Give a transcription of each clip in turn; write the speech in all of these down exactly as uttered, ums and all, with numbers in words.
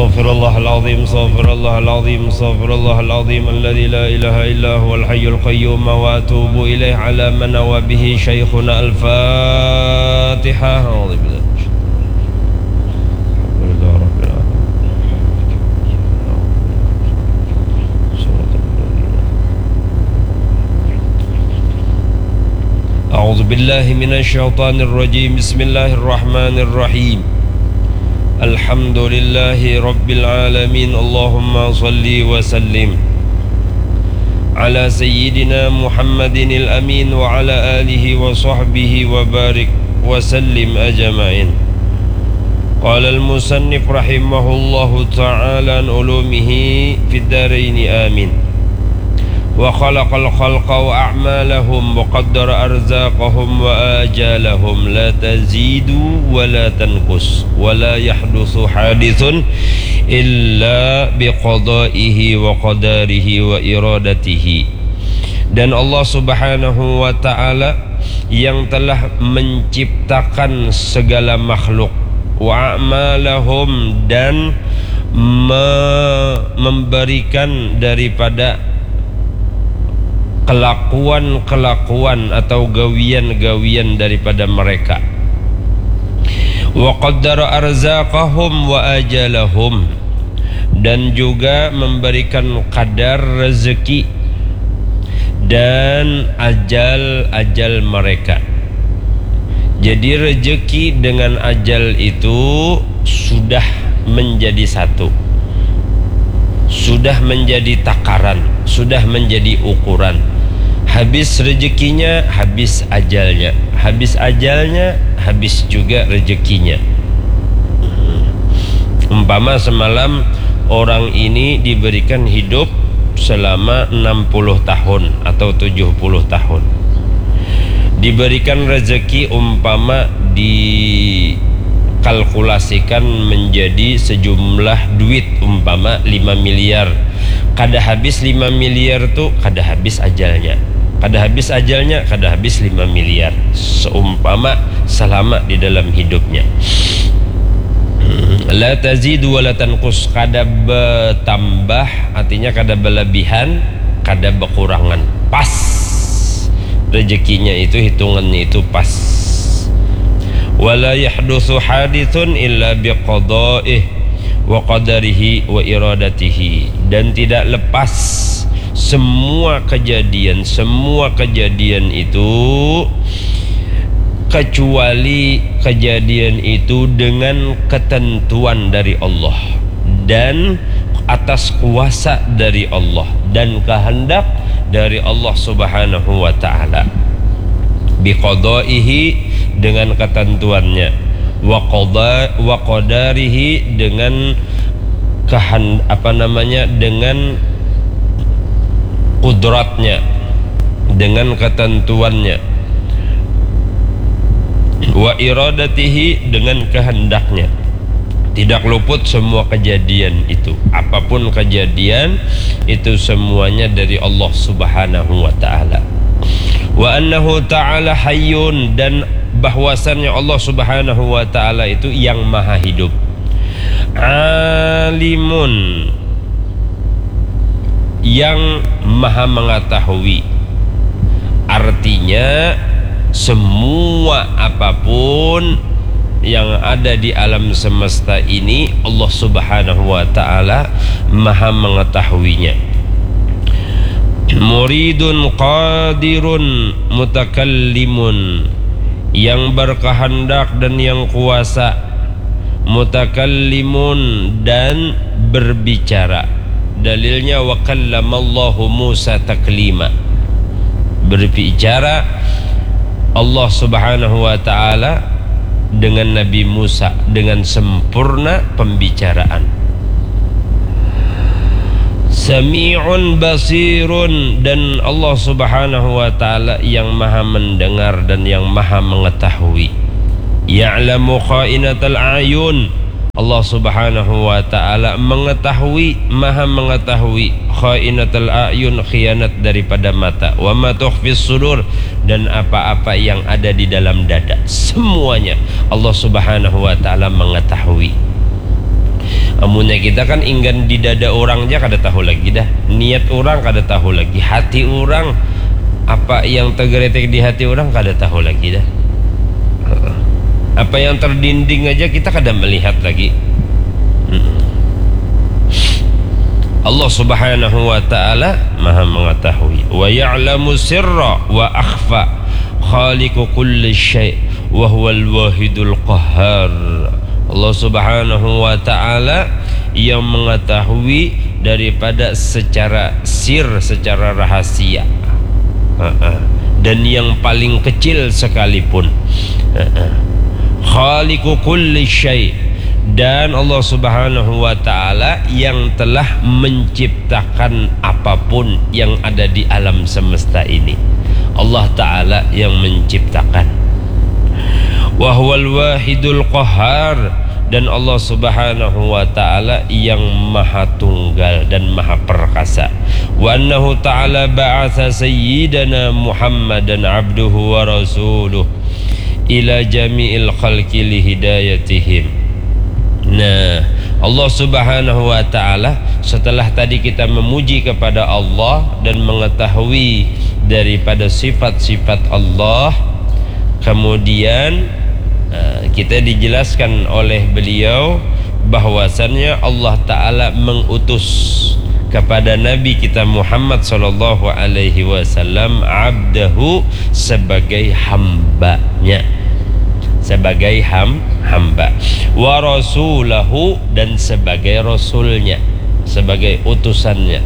أستغفر الله العظيم، أستغفر الله العظيم، أستغفر الله العظيم الذي لا إله إلا هو الحي القيوم وأتوب إليه على ما نوى به شيخنا. الفاتحة. أعوذ بالله من الشيطان الرجيم. الحمد لله رب العالمين. أعوذ بالله من الشيطان الرجيم. بسم الله الرحمن الرحيم. الحمد لله رب العالمين. اللهم صل وسلم على سيدنا محمد الأمين وعلى آله وصحبه وبارك وسلم أجمعين. قال المصنف رحمه الله تعالى عن علومه في الدارين آمين. وخلق الخلق وأعمالهم وقدر أرزاقهم وآجالهم لا تزيد ولا تنقص ولا يحدث حادث إلا بقضائه وقدره وإرادته. Dan Allah Subhanahu wa Ta'ala yang telah menciptakan segala makhluk, wa a'malahum, dan me-, memberikan daripada kelakuan-kelakuan atau gawian-gawian daripada mereka. Wa qaddara arzaqahum wa ajalahum, dan juga memberikan kadar rezeki dan ajal-ajal mereka. Jadi, rezeki dengan ajal itu sudah menjadi satu, sudah menjadi takaran, sudah menjadi ukuran. Habis rezekinya, habis ajalnya. Habis ajalnya, habis juga rezekinya. Umpama semalam orang ini diberikan hidup selama enam puluh tahun atau tujuh puluh tahun. Diberikan rezeki umpama dikalkulasikan menjadi sejumlah duit, umpama lima miliar. Kada habis lima miliar tu, kada habis ajalnya. Kada habis ajalnya, kada habis lima miliar. Seumpama selama di dalam hidupnya. La tazidu wa la tanqus, kada bertambah, artinya kada berlebihan, kada berkurangan. Pas. Rezekinya itu, hitungannya itu pas. Wa la yahdusu hadithun illa biqadaih wa qadarihi wa iradatihi. Dan tidak lepas semua kejadian, semua kejadian itu kecuali kejadian itu dengan ketentuan dari Allah dan atas kuasa dari Allah dan kehendak dari Allah Subhanahu wa Ta'ala. Biqadaihi, dengan ketentuannya, wa qada-, wa qadarihi, dengan kehan-, apa namanya, dengan kudratnya, dengan ketentuannya, wa iradatihi, dengan kehendaknya. Tidak luput semua kejadian itu. Apapun kejadian, itu semuanya dari Allah Subhanahu wa Ta'ala. Wa annahu ta'ala hayyun, dan bahwasannya Allah Subhanahu wa Ta'ala itu yang maha hidup. Alimun, yang maha mengetahui. Artinya, semua apapun yang ada di alam semesta ini, Allah Subhanahu wa Ta'ala maha mengetahuinya. Muridun qadirun mutakallimun, yang berkehendak dan yang kuasa, mutakallimun, dan berbicara. Dalilnya, wa kallamallahu Musa taklima. Berbicara Allah Subhanahu wa Ta'ala dengan Nabi Musa dengan sempurna pembicaraan. Sami'un basirun, dan Allah Subhanahu wa Ta'ala yang maha mendengar dan yang maha mengetahui. Ya'lamu kha'inatal a'yun, Allah Subhanahu wa Ta'ala mengetahui, maha mengetahui, kha'inatal a'yun, khianat daripada mata, wa ma tukhfis sudur, dan apa-apa yang ada di dalam dada, semuanya Allah Subhanahu wa Ta'ala mengetahui. Munnya kita kan inggan di dada orang ja kada tahu lagi dah. Niat orang kada tahu lagi. Hati orang, apa yang tergelitik di hati orang kada tahu lagi dah. Heeh. Apa yang terdinding aja kita kada melihat lagi. Mm-mm. Allah Subhanahu wa Ta'ala Maha Mengetahui. Wa ya'lamu sirra wa akhfa. Khaliqu kulli syai'. Wa huwal wahidul qahhar. Allah Subhanahu wa Ta'ala yang mengetahui daripada secara sir, secara rahasia. Heeh. Dan yang paling kecil sekalipun. Heeh. Khaliqu kulli syai'. Dan Allah Subhanahu wa Ta'ala yang telah menciptakan apapun yang ada di alam semesta ini. Allah Ta'ala yang menciptakan. Wa huwal wahidul qahhar. Dan Allah Subhanahu wa Ta'ala yang Maha Tunggal dan Maha Perkasa. Wa annahu ta'ala ba'atsa sayyidana Muhammadan abduhu wa rasuluh ila jami'il khalqi lihidayatihim. Nah, Allah Subhanahu wa Ta'ala, setelah tadi kita memuji kepada Allah dan mengetahui daripada sifat-sifat Allah, kemudian, eh, kita dijelaskan oleh beliau bahwasannya Allah Ta'ala mengutus kepada Nabi kita Muhammad sallallahu alaihi wasallam abdahu, sebagai hambanya, sebagai ham, hamba, wa rasulahu, dan sebagai rasulnya, sebagai utusannya.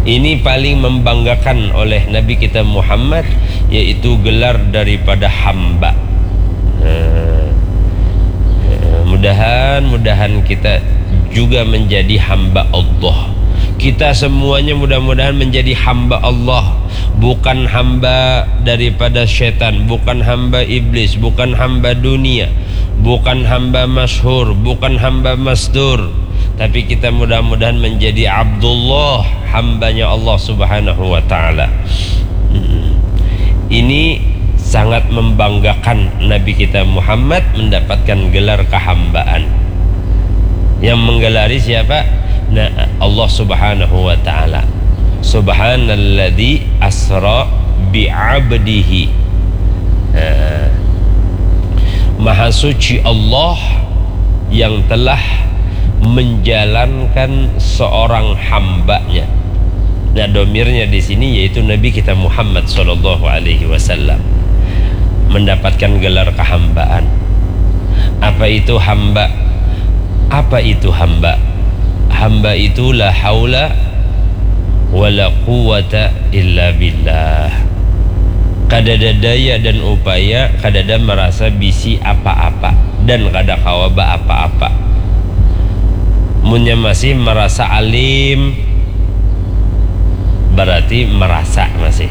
Ini paling membanggakan oleh Nabi kita Muhammad, yaitu gelar daripada hamba. Nah, mudahan, mudahan kita juga menjadi hamba Allah. Kita semuanya mudah-mudahan menjadi hamba Allah, bukan hamba daripada setan, bukan hamba iblis, bukan hamba dunia, bukan hamba masyhur, bukan hamba mastur, tapi kita mudah-mudahan menjadi Abdullah, hambanya Allah Subhanahu wa Ta'ala. Hmm. Ini sangat membanggakan Nabi kita Muhammad mendapatkan gelar kehambaan. Yang menggelari siapa? Nah, Allah Subhanahu wa Ta'ala. Subhanalladzi asra bi'abdihi. Nah, Maha Suci Allah yang telah menjalankan seorang hambanya. Nah, domirnya di sini yaitu Nabi kita Muhammad sallallahu alaihi wasallam mendapatkan gelar kehambaan. Apa itu hamba? Apa itu hamba? Hamba itu la haula wala quwwata illa billah. Kadada daya dan upaya, kadada merasa bisi apa-apa dan kada kawa ba apa-apa. Munnya masih merasa alim, berarti merasa masih.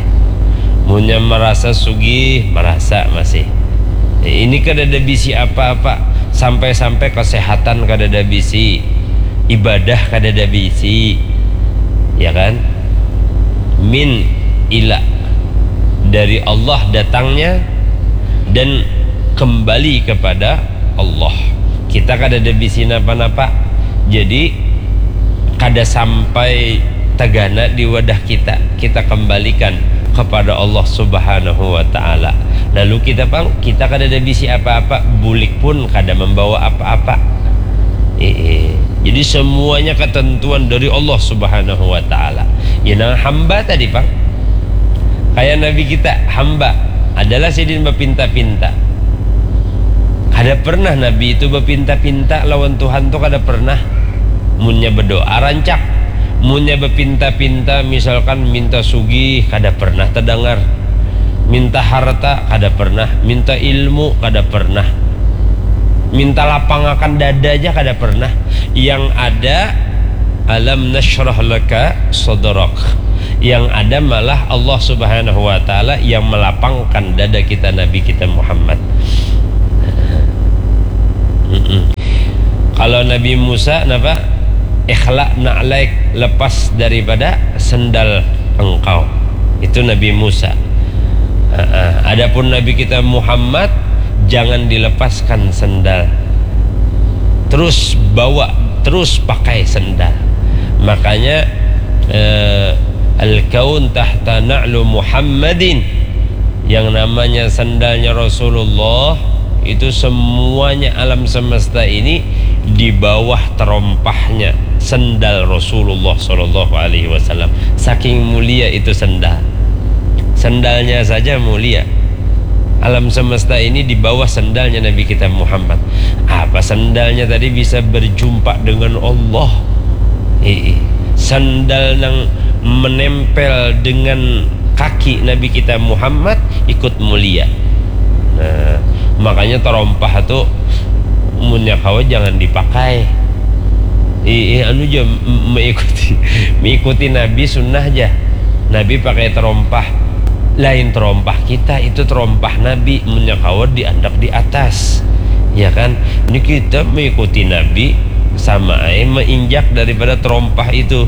Munnya merasa sugih, merasa masih. Ini kadada bisi apa-apa, sampai-sampai kesehatan kadada bisi, ibadah kadada bisi, ya kan? Min ila, dari Allah datangnya dan kembali kepada Allah. Kita kadada bisi napa-napa. Jadi, kada sampai tagana di wadah kita, kita kembalikan kepada Allah Subhanahu wa Ta'ala. Lalu kita pang, kita kadada bisi apa-apa, bulik pun kada membawa apa-apa. Iya. Jadi, semuanya ketentuan dari Allah Subhanahu wa Ta'ala. Ya, nang hamba tadi, pang. Kayak Nabi kita, hamba. Adalah sidin bapinta-pinta. Kada pernah Nabi itu bapinta-pinta lawan Tuhan tu, kada pernah. Munnya berdoa rancak. Munnya bapinta-pinta, misalkan minta sugih, kada pernah terdengar. Minta harta, kada pernah. Minta ilmu, kada pernah. Minta lapangakan dada aja kada pernah. Yang ada, alam nasyrah laka sadrak. Yang ada malah Allah Subhanahu wa Ta'ala yang melapangkan dada kita, Nabi kita Muhammad. Mm-mm. Kalau Nabi Musa, napa? Ikhla na'laik, lepas daripada sendal engkau. Itu Nabi Musa. Ha-ha. Adapun Nabi kita Muhammad, jangan dilepaskan sendal. terus bawa, terus pakai sendal. Makanya eh, al-kaun tahta na'lu Muhammadin. Yang namanya sendalnya Rasulullah itu semuanya alam semesta ini di bawah terompahnya sendal Rasulullah Shallallahu Alaihi Wasallam. Saking mulia itu sendal. Sendalnya saja mulia. Alam semesta ini di bawah sendalnya Nabi kita Muhammad. Apa sendalnya tadi bisa berjumpa dengan Allah? Ii. Sandal nang menempel dengan kaki Nabi kita Muhammad ikut mulia. Nah, makanya terompah tu munnya kawa jangan dipakai. Ii, anu ja mengikuti mengikuti Nabi sunnah ja. Nabi pakai terompah, lain terompah kita, itu terompah Nabi, munnya kawa diandak di atas, ya kan? Ini kita mengikuti Nabi sama ai menginjak daripada terompah itu.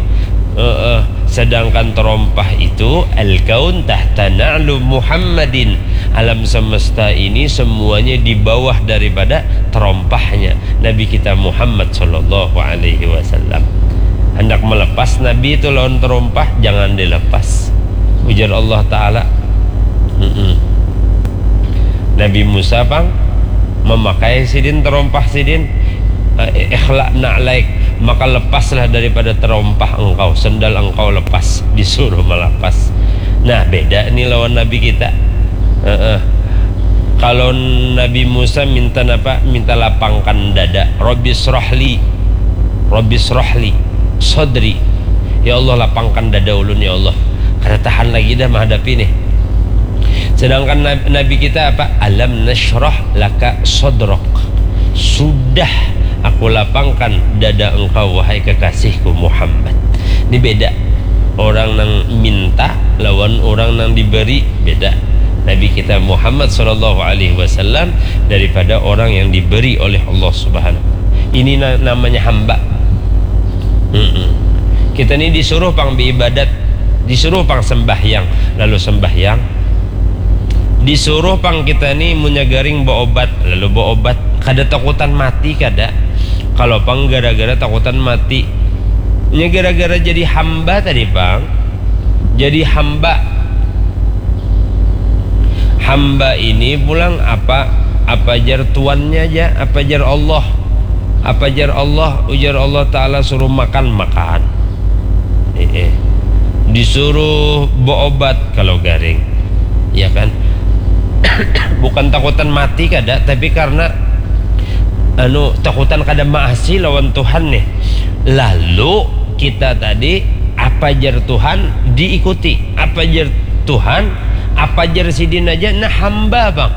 Heeh. Sedangkan terompah itu al-kaun tahta na'lu Muhammadin, alam semesta ini semuanya di bawah daripada terompahnya Nabi kita Muhammad Shallallahu Alaihi Wasallam. Hendak melepas Nabi itu lawan terompah, jangan dilepas, ujar Allah Ta'ala. Mm-mm. Nabi Musa pang memakai sidin terompah sidin, eh, ikhla na'laik, maka lepaslah daripada terompah engkau, sendal engkau lepas, disuruh melepas. Nah, beda nih lawan Nabi kita. Heeh. Kalau Nabi Musa minta apa? Minta lapangkan dada. Rabbi srohli, Rabbi srohli sodri. Ya Allah, lapangkan dada ulun, ya Allah. Kada tahan lagi dah menghadapi nih. Sedangkan Nabi kita apa? Alam nasyrah laka sodrok. Sudah aku lapangkan dada engkau, wahai kekasihku Muhammad. Ini beda. Orang nang minta lawan orang nang diberi, beda. Nabi kita Muhammad Shallallahu Alaihi Wasallam daripada orang yang diberi oleh Allah Subhanahu. Ini namanya hamba. Mm-mm. Kita ni disuruh pang beribadat, disuruh pang sembahyang, lalu sembahyang. Disuruh pang kita ni munnya garing beobat, lalu beobat. Kada takutan mati, kada. Kalau pang gara-gara takutan mati. Nya gara-gara jadi hamba tadi pang. Jadi hamba. Hamba ini pulang apa, apa jar tuannya aja, apa jar Allah. Apa jar Allah, ujar Allah Ta'ala suruh makan, makan. Eh, eh. Disuruh beobat kalau garing. Ya kan? Bukan takutan mati kada, tapi karena anu, takutan kada maasi lawan Tuhan nih. Lalu kita tadi apa jar Tuhan diikuti, apa jar Tuhan, apa jar sidin aja, nah hamba bang.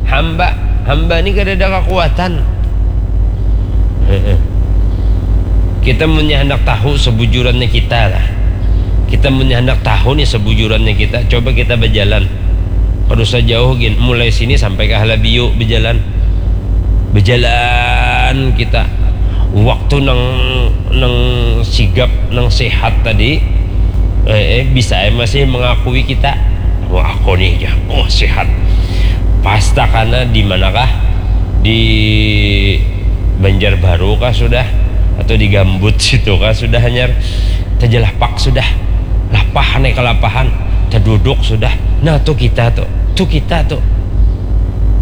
Hamba, hamba ni kada ada kekuatan. Heeh. Kita munnya handak tahu sebujurannya kita lah. Kita munnya handak tahu nih sebujurannya kita, coba kita berjalan. Kada usah jauh gin, mulai sini sampai ke Halabiu berjalan. Berjalan kita. Waktu nang nang sigap, nang sehat tadi, eh, eh, bisa eh masih mengakui kita. Wah, aku nih ya, oh sehat. Pasta kana di manakah? Di Banjarbaru kah sudah? Atau di Gambut situ kah sudah hanyar? Tejalapak sudah. Lapah nih kelapahan. Teduduk sudah. Nah, tuh kita tuh. Tuh kita tuh.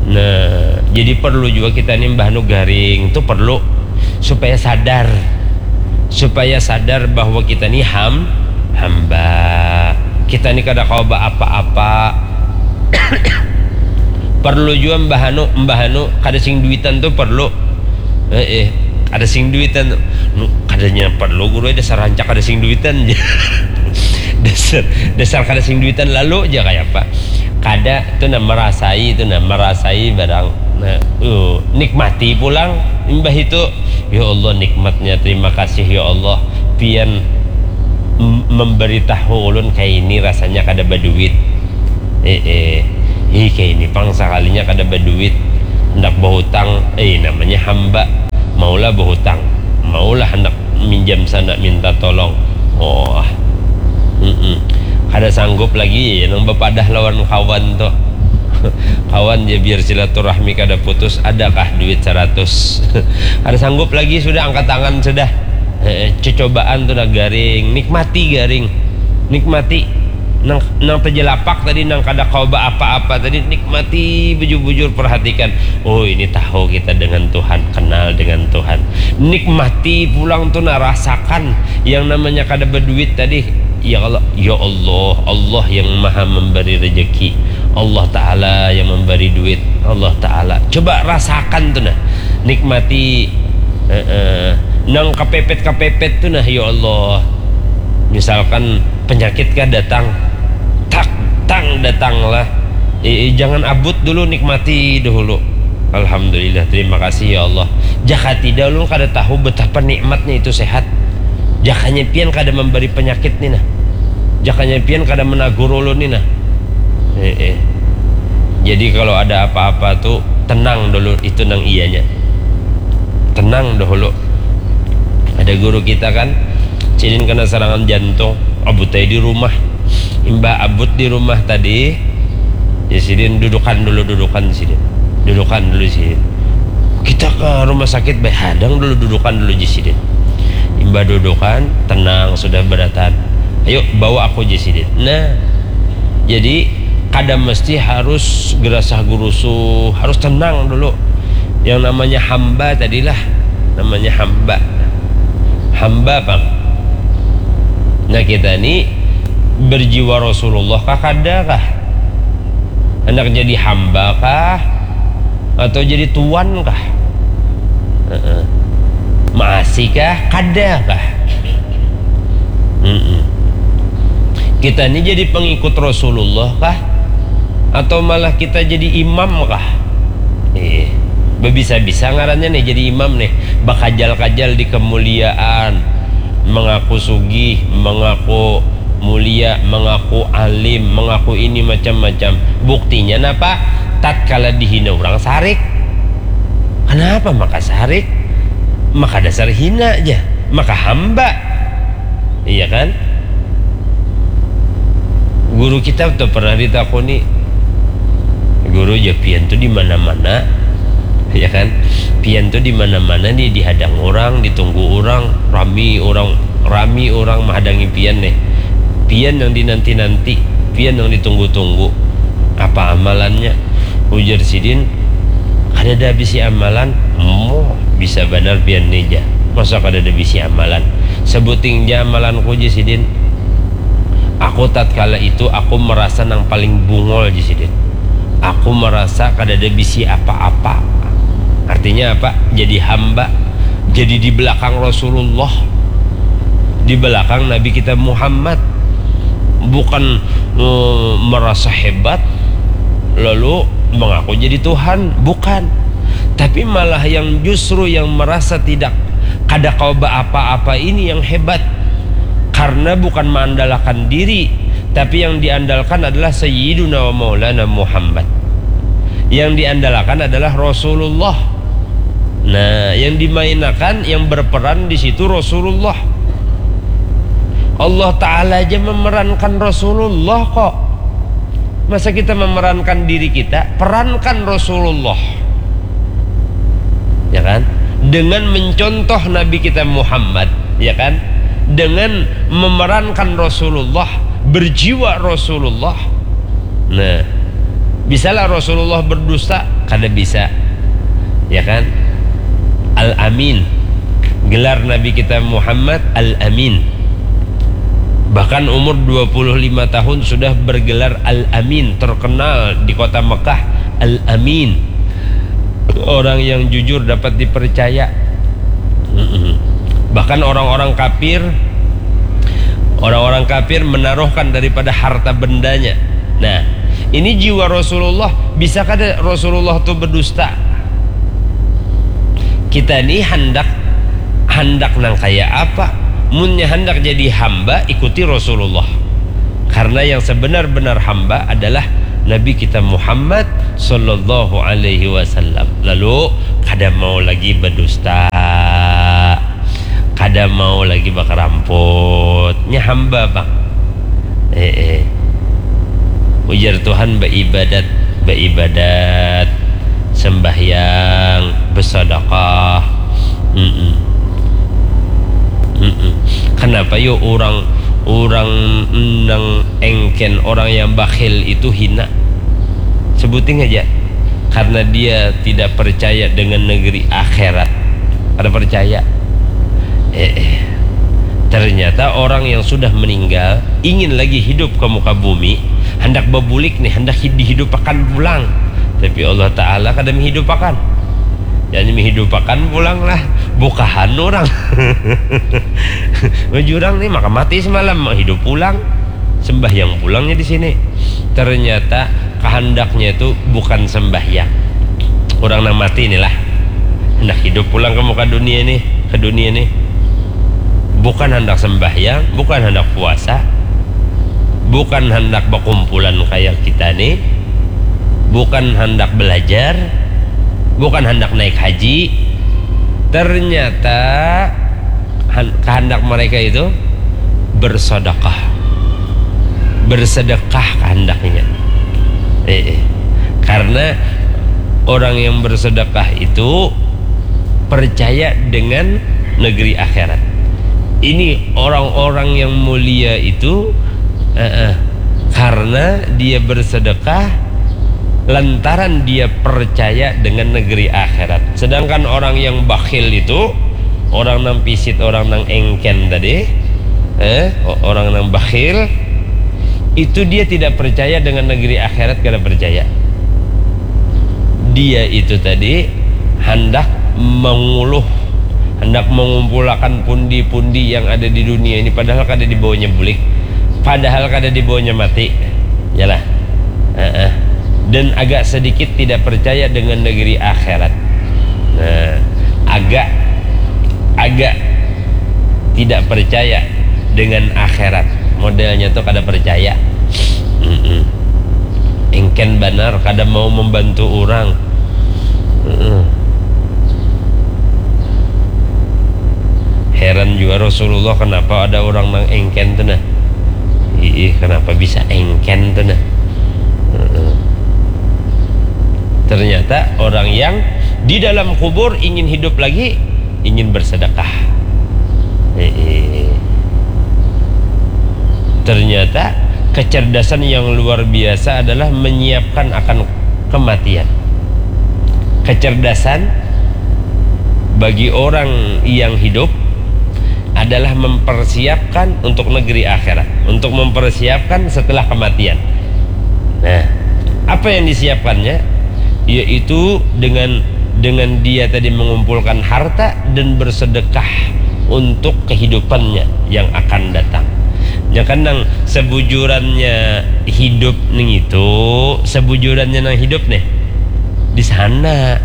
Nah, jadi perlu juga kita nih mbah nu garing tuh perlu supaya sadar. Supaya sadar bahwa kita nih ham hamba. Kita nih kada kawa apa-apa. Perlu jua mbah anu, mbah anu kada sing duitan tu perlu. Eh, eh, kada sing duitan tu. Nu, kadanya perlu guru, dasar rancak kada sing duitan. Dasar, dasar kada sing duitan lalu ja kaya apa. Kada tu nah merasai tu nah, merasai barang. Nah, uh, nikmati pulang imbah itu. Ya Allah, nikmatnya, terima kasih ya Allah. Pian memberitahu ulun kaini rasanya kada baduit. Eh, eh. Ih, kaini pang sakalinya kada baduit. Handak bahutang, eh, namanya hamba. Maulah bahutang. Maulah handak minjam sana minta tolong. Oh. Mm-mm. Kada sanggup lagi ya nang bapadah lawan kawan tuh. Kawan ja, biar silaturahmi kada putus, adakah duit saratus? Kada sanggup lagi sudah, angkat tangan sudah. Heeh, cecobaan tu nah garing, nikmati garing. Nikmati. Nang, nang tejelapak tadi, nang kada kawa baapa-apa tadi, nikmati bujur-bujur, perhatikan. Oh, ini tahu kita dengan Tuhan, kenal dengan Tuhan. Nikmati pulang tu nah, rasakan yang namanya kada berduit tadi. Ya Allah, ya Allah, Allah yang maha memberi rezeki. Allah Ta'ala yang memberi duit. Allah Ta'ala. Coba rasakan tu nah. Nikmati. Heeh. Nang kepepet-kepepet tu nah, ya Allah. Misalkan penyakit kah datang. Tak, tang, datanglah. Eh, eh, jangan abut dulu, nikmati dahulu. Alhamdulillah, terima kasih ya Allah. Jaka tidak, ulun kada tahu betapa nikmatnya itu sehat. Jakanya pian kada memberi penyakit ni nah. Jakanya pian kada menagur ulun ni nah. Eh, eh. Jadi kalau ada apa-apa tu tenang dulu, itu nang iyanya. Tenang dahulu. Ada guru kita kan, sidin kena serangan jantung, abut ai di rumah. Imbah abut di rumah tadi, ya sidin dudukan dulu, dudukan sidin. Dudukan dulu sidin. Kita ke rumah sakit, baik, hadang dulu, dudukan dulu, ji sidin. Imbah dudukan, tenang, sudah beratan. Ayo, bawa aku, ji sidin. Nah, jadi kada mesti harus gerasah gurusuh, harus tenang dulu. Yang namanya hamba tadilah, namanya hamba. Hamba, Bang. Nah, kita ni berjiwa Rasulullah kah, kada kah? Hendak jadi hamba kah? Atau jadi tuan kah? Heeh. Maasi kah? Kada kah? Mm-mm. Kita ni jadi pengikut Rasulullah kah? Atau malah kita jadi imam kah? Eh, bebisa-bisa ngarannya nih jadi imam nih. Bakajal-kajal di kemuliaan, mengaku sugih, mengaku mulia, mengaku alim, mengaku ini macam-macam. Buktinya napa? Tatkala dihina orang sarik. Kenapa maka sarik? Maka dasar hina aja, maka hamba. Iya kan? Guru kita tuh pernah ditakuni, "Guru, ja pian tuh di mana-mana, ya kan? Pian tuh di mana-mana nih, dihadang orang, ditunggu orang, rami orang, rami orang menghadangi pian nih. Pian yang dinanti-nanti, pian yang ditunggu-tunggu. Apa amalannya?" Ujar sidin, "Kada ada bisi amalan." "Moh, bisa banar pian nih, ja. Masa kada ada bisi amalan?" "Sebuting ja amalanku," ji sidin. "Aku tatkala itu, aku merasa nang paling bungol," ji sidin. "Aku merasa kada ada bisi apa-apa." Artinya apa? Jadi hamba, jadi di belakang Rasulullah, di belakang Nabi kita Muhammad. Bukan, eh, merasa hebat, lalu mengaku jadi Tuhan. Bukan. Tapi malah yang justru yang merasa tidak, kada kawa apa-apa ini yang hebat. Karena bukan mengandalkan diri, tapi yang diandalkan adalah Sayyiduna wa Maulana Muhammad. Yang diandalkan adalah Rasulullah. Nah, yang dimainakan, yang berperan di situ Rasulullah. Allah Ta'ala aja memerankan Rasulullah kok. Masa kita memerankan diri kita? Perankan Rasulullah. Ya kan? Dengan mencontoh Nabi kita Muhammad, ya kan? Dengan memerankan Rasulullah, berjiwa Rasulullah. Nah, bisalah Rasulullah berdusta? Kada bisa. Ya kan? Al-Amin. Gelar Nabi kita Muhammad Al-Amin. Bahkan umur dua puluh lima tahun sudah bergelar Al-Amin, terkenal di kota Mekah, Al-Amin. Orang yang jujur dapat dipercaya. Mm-mm. Bahkan orang-orang kafir, orang-orang kafir menaruhkan daripada harta bendanya. Nah, ini jiwa Rasulullah. Bisa kada Rasulullah tu berdusta? Kita ni handak, handak nang kaya apa? Munnya handak jadi hamba, ikuti Rasulullah. Karena yang sebenar-benar hamba adalah Nabi kita Muhammad sallallahu alaihi wasallam. Lalu, kada mau lagi berdusta, kada mau lagi bakaramput. Nya hamba, Bang. Eh, eh. Ujar Tuhan, baibadat beribadat, sembahyang, bersedekah. Mm-mm. Mm-mm. Kenapa yo orang orang nang engken, orang yang bakhil itu hina? Sebuting aja. Karena dia tidak percaya dengan negeri akhirat. Ada percaya. Eh, eh. Ternyata orang yang sudah meninggal ingin lagi hidup ke muka bumi, hendak bebulik nih, hendak dihidupakan pulang. Tapi Allah Ta'ala kada menghidupakan. Jadi menghidupakan pulang lah. Bukahan orang. Bajurang nih, maka mati semalam, hidup pulang. Sembahyang pulangnya di sini. Ternyata kehendaknya itu bukan sembahyang. Orang nang mati inilah hendak hidup pulang ke muka dunia nih, ke dunia nih. Bukan hendak sembahyang, bukan hendak puasa, bukan hendak berkumpulan kayak kita nih, bukan hendak belajar, bukan hendak naik haji. Ternyata kehendak mereka itu bersedekah. Bersedekah kehendaknya. Eh, eh. Karena orang yang bersedekah itu percaya dengan negeri akhirat. Ini orang-orang yang mulia itu, eh, eh, karena dia bersedekah lantaran dia percaya dengan negeri akhirat. Sedangkan orang yang bakhil itu, orang nang pisit, orang nang engken tadi, eh, orang nang bakhil itu, dia tidak percaya dengan negeri akhirat, kada percaya. Dia itu tadi hendak menguluh, hendak mengumpulakan pundi-pundi yang ada di dunia ini, padahal kada dibawanya bulik, padahal kada dibawanya mati. Yalah. Heeh. Dan agak sedikit tidak percaya dengan negeri akhirat. Nah, agak agak tidak percaya dengan akhirat. Modelnya tuh kada percaya. Mm-mm. Engken banar, kada mau membantu orang. Mm-mm. Heran juga Rasulullah, kenapa ada orang nang engken tuh nah. Ih, kenapa bisa engken tuh nah. Mm-mm. Ternyata orang yang di dalam kubur ingin hidup lagi, ingin bersedekah. Heeh. Ternyata kecerdasan yang luar biasa adalah menyiapkan akan kematian. Kecerdasan bagi orang yang hidup adalah mempersiapkan untuk negeri akhirat, untuk mempersiapkan setelah kematian. Nah, apa yang disiapkannya? Yaitu dengan dengan dia tadi mengumpulkan harta dan bersedekah untuk kehidupannya yang akan datang. Ya kan, nang sebujurannya hidup ning itu, sebujurannya nang hidup nih di sana.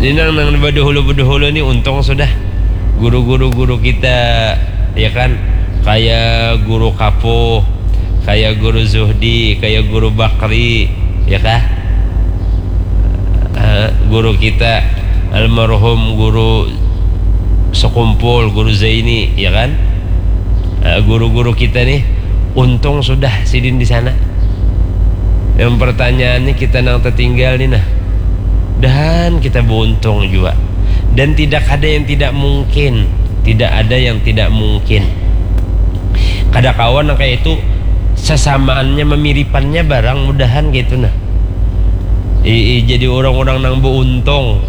Ini nang nang bedahulu bedahulu nih untung sudah guru-guru guru kita, ya kan, kayak guru Kapuh, kayak guru Zuhdi, kayak guru Bakri, ya kah? Eh, guru kita almarhum guru Sekumpul, guru Zaini, ya kan? Eh, guru-guru kita nih untung sudah sidin di sana. Yang pertanyaannya kita nang tertinggal nih nah, dan kita beruntung juga. Dan tidak ada yang tidak mungkin, tidak ada yang tidak mungkin. Kada kawan kayak itu, sesamaannya memiripannya barang mudahan gitu nah. Ii, jadi orang-orang nang beruntung.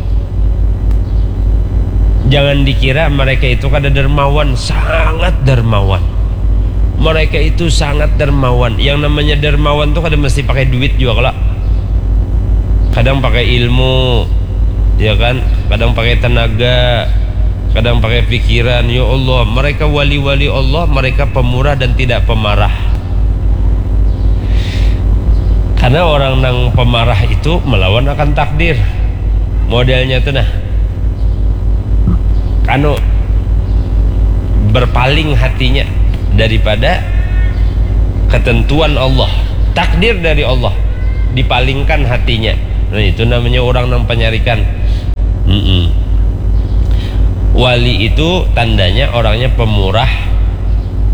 Jangan dikira mereka itu kada dermawan, sangat dermawan. Mereka itu sangat dermawan. Yang namanya dermawan tuh kada mesti pakai duit juga kala. Kadang pakai ilmu, ya kan? Kadang pakai tenaga, kadang pakai pikiran. Ya Allah, mereka wali-wali Allah, mereka pemurah dan tidak pemarah. Karena orang nang pemarah itu melawan akan takdir. Modelnya tuh nah. Anu, berpaling hatinya daripada ketentuan Allah, takdir dari Allah, dipalingkan hatinya. Nah, itu namanya orang nang penyarikan. Mm-mm. Wali itu tandanya orangnya pemurah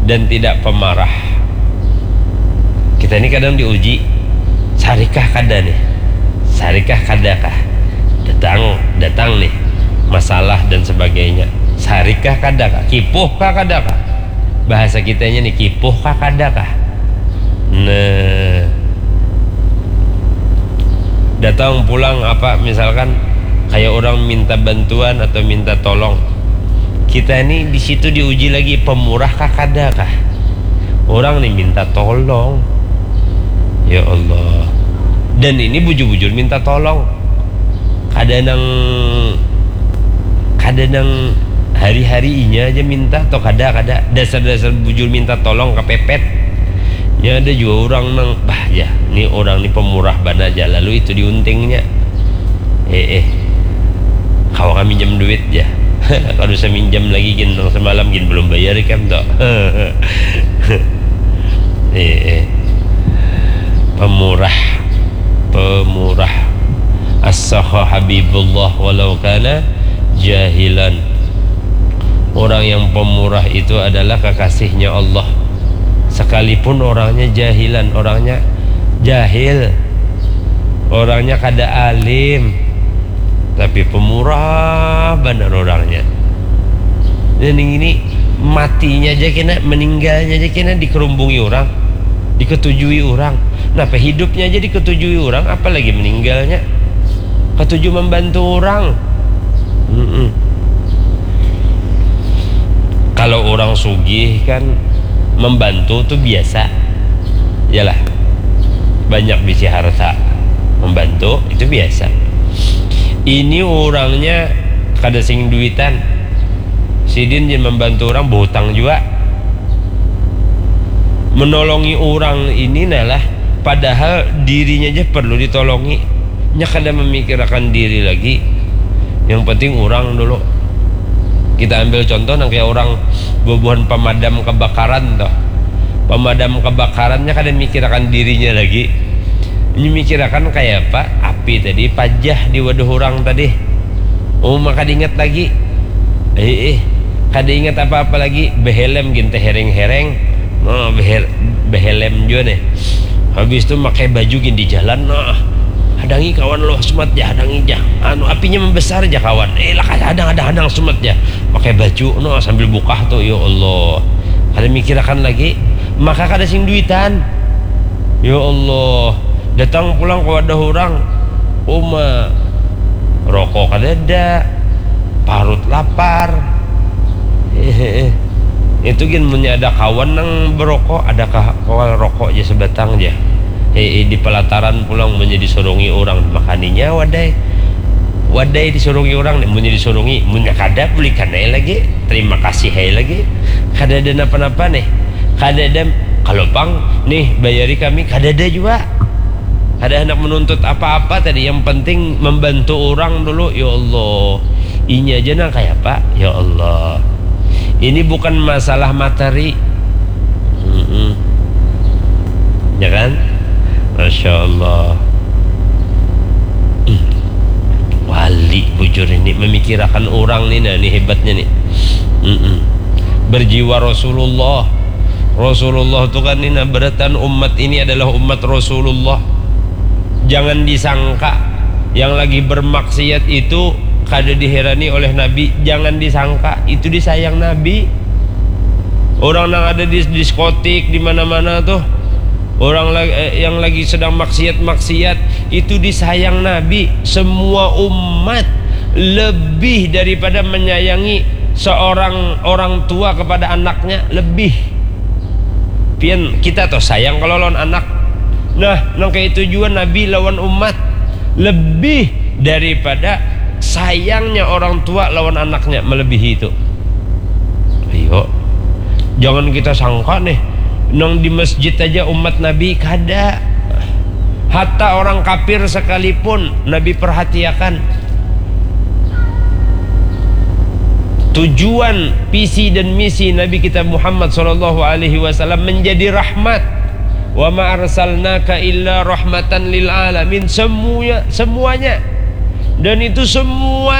dan tidak pemarah. Kita ini kadang diuji, sarikah kada nih? Sarikah kada kah? Datang, datang nih masalah dan sebagainya. Sarikah kada kah? Kipuh kah kada kah? Bahasa kitanya nih, kipuh kah kada kah? Nah, datang pulang apa, misalkan kayak orang minta bantuan atau minta tolong, kita ini di situ diuji lagi, pemurah kah kada kah? Orang nih minta tolong, ya Allah. Dan ini bujur-bujur minta tolong, kada nang kada nang hari-hari inya aja minta atau kada, kada dasar-dasar bujur minta tolong kepepet. Ya ada juga orang nang, bah ya, ni orang ni pemurah bana aja, lalu itu diuntingnya. Eh, eh. Kawa kami minjam duit ya. Kalau saya minjam lagi gin nang semalam gin belum bayar ikam toh. Eh, eh. Pemurah, pemurah. As-sakha habibullah walau kana jahilan. Orang yang pemurah itu adalah kekasihnya Allah. Sekalipun orangnya jahilan, orangnya jahil, orangnya kada alim, tapi pemurah banar orangnya. Dan ini matinya aja kena, meninggalnya aja kena dikerumbungi orang, diketujui orang. Napa hidupnya aja diketujui orang, apalagi meninggalnya. Ketuju membantu orang. Mm-mm. Kalau orang sugih kan membantu tuh biasa. Yalah. Banyak bisi harta. Membantu itu biasa. Ini orangnya kada sing duitan. Sidin je membantu orang, berhutang juga. Menolongi orang ini nalah, padahal dirinya aja perlu ditolongi. Nya kada memikirakan diri lagi. Yang penting orang dulu. Kita ambil contoh nang kayak orang bubuhan pemadam kebakaran toh. Pemadam kebakarannya kada mikirakan dirinya lagi. Ini mikirakan kayak apa? Api tadi pajah di wadah orang tadi. Oh, maka diingat lagi. Eh, eh. Kada ingat apa-apa lagi, behelm gin tehereng-hereng. Nah, behel, behelm jua nih. Habis tu makai baju gin di jalan, nah. Hadangi kawan lo, sumat ja, hadangi ja. Anu, apinya membesar ja kawan. Eh, lah, hadang, hadang, hadang, sumat ja. Pakai baju, nah, sambil bukah tu, ya Allah. Kada mikirakan lagi, maka kada sing duitan. Ya Allah, datang pulang ke wadah orang. Uma, rokok kadada, parut lapar. Itu gin munnya ada kawan nang berokok, adakah kawan rokok ja sebatang ja. Eh, eh, di pelataran pulang munnya disurungi orang, makaninya wadai. Wadai disurungi orang, munnya disurungi, munnya kada, bulikan ai lagi. Terima kasih ai lagi. Kada ada napa-napa nih. Kada ada, kalau pang nih, bayari kami, kada ada jua. Kada handak menuntut apa-apa tadi, yang penting membantu orang dulu. Ya Allah, inya aja nang kaya apa? Ya Allah, ini bukan masalah materi. Mm-mm. Ya kan? Masya Allah. Hmm. Wali bujur ini memikirakan orang ni, nah, ni hebatnya ni. Mm-mm. Berjiwa Rasulullah. Rasulullah tu kan ni, nah, beratan umat ini adalah umat Rasulullah. Jangan disangka yang lagi bermaksiat itu kada diherani oleh Nabi. Jangan disangka itu disayang Nabi. Orang nang ada di diskotik di mana-mana tuh, orang la- eh, yang lagi sedang maksiat-maksiat itu disayang Nabi. Semua umat lebih daripada menyayangi seorang orang tua kepada anaknya, lebih. Pian kita tuh sayang kalau lawan anak. Nah, nang kayak itu juga Nabi lawan umat lebih daripada sayangnya orang tua lawan anaknya, melebihi itu. Ayo, jangan kita sangka nih, nang di masjid aja umat Nabi kada. Hatta orang kafir sekalipun Nabi perhatiakan. Tujuan, visi dan misi Nabi kita Muhammad sallallahu alaihi wasallam menjadi rahmat. Wa ma arsalnaka illa rahmatan lil alamin. Semuanya, semuanya. Dan itu semua